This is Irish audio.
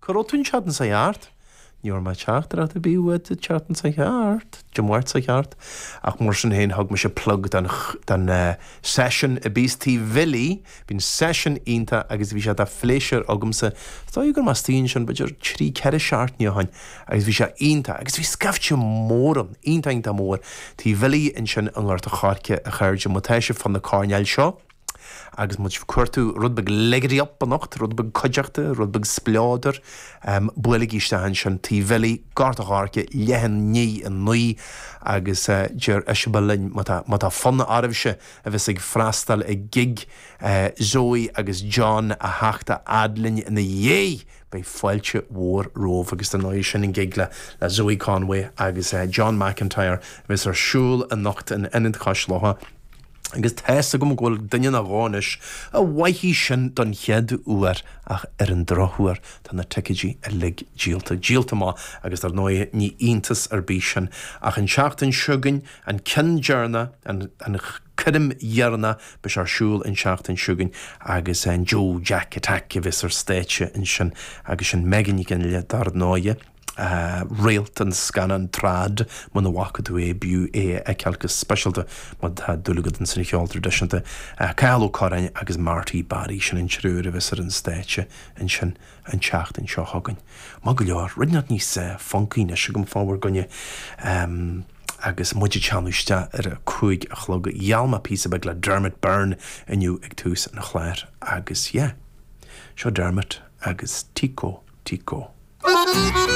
Cá raibh tú an tseachtain seo thart? Ní raibh mé teachtaireacht ar bith uait an tseachtain seo thart, Dé Máirt seo thart, ach mar sin féin thug mise plug don don seisiún a bíos Tigh Bhilí, bíonn seisiún iontach agus bhí sé de phléisiúr agamsa, is dóigh go raibh mé istigh ansin b'fhéidir trí, ceithre seachtaine ó shin agus bhí sé iontach agus bhí scaifte mór ann, iontach iontach mór, Tigh Bhilí ansin i nGort a' Choirce a chairde, má tá sibh fá na coirnéil seo. Agus má tá sibh ag cuartú rud beag lickety up anocht, rud beag cuideachta, rud beag spleodair, buailigí isteach ansin, Tigh Bhilí, Gort a' Choirce, leath i ndiaidh a 9, agus deir Iseabail linn, má tá, má tá fonn oraibhse a bheas ag freastal ag gig Zoe agus John a theacht a fhad linn ina dhiaidh, beidh fáilte mhór romhaibh. Agus dar ndóigh, sin an gig le Zoe Conway agus John McIntyre a bheas ar siúl anocht in Ionad Chois Locha. Agus tá's agam go bhfuil duine nó dhó anois a bhfaighidh sin don chéad uair ach ar an drochuair tá na ticéidí uilig díolta, díolta amach agus dar ndóigh ní iontas ar bith sin ach an tseachtain seo chugainn, an ceann deireanach, an an coirm dheireanach, beidh sé ar siúl an tseachtain seo chugainn agus an Joe Jack Attack a bheas ar stáitse ansin agus sin Megan Nic Fhionnghaile dar ndóigh. réalt an scannáin Trad, muna bhfaca tú é, b'fhiú é a fheiceáil go speisialta má tá dúil agat ins an cheol traidisiúnta. Cathal Ó Curráin agus Marty Barry, sin an triúr a bheas ar an stáitse ansin an tseachtain seo chugainn. Maith go leor, rud inteacht níos funcaí anois agam fá bhur gcoinne agus muid ag teannadh isteach ar a 5 a chlog. Gheall mé píosa beag le Dermot Byrne inniu ag tús an chláir agus yeah, seo Dermot agus Tico Tico.